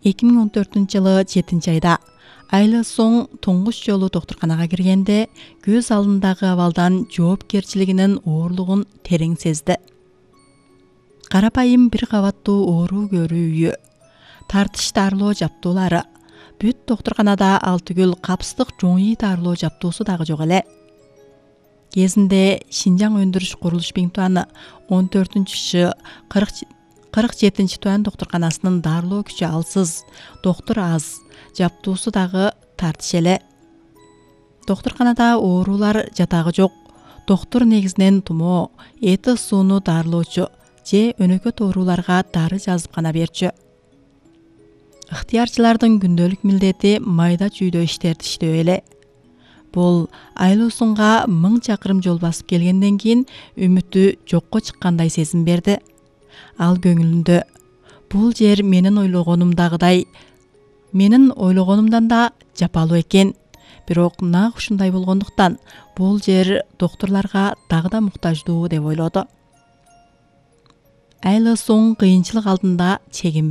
2014-жылы 7-айда Айла соң туңгуч жолу доктурканага киргенде көз алдындагы абалдан жоопкерчилигинин оорлугун терең сезди. Карапайым бир кабаттуу оору көрүү үйү, тартыш дарылоо жаптуулары, бүт доктурканада ал түгүл капсыздык жоңүй дарылоо жаптуусу дагы жок эле. Кезинде Шинжаң өндүрүш курулуш биңтуаны 14-47 доктурканасынын дарылоо күчү алсыз, доктур аз, жаптуусу дагы тартыш эле. Доктурканада оорулар жатагы жок. Доктур негизинен тумоо, эти сууну дарылоочу же өнөкөт ооруларга дары жазып гана берчү. Ыктыярчылардын күндөлүк милдети майда чүйдө иштерди иштөө эле. Бул Айлусунга 1000 чакырым жол басып келгенден кийин үмүтү жокко чыккандай сезим берди. Ал көңүлүндө бул жер менин ойлогонумдан да жапалуу экен. Бирок нак ушундай болгондуктан бул жер доктурларга дагы да муктаждуу деп ойлоду. Айла соң кыйынчылык алдында чегинбеди.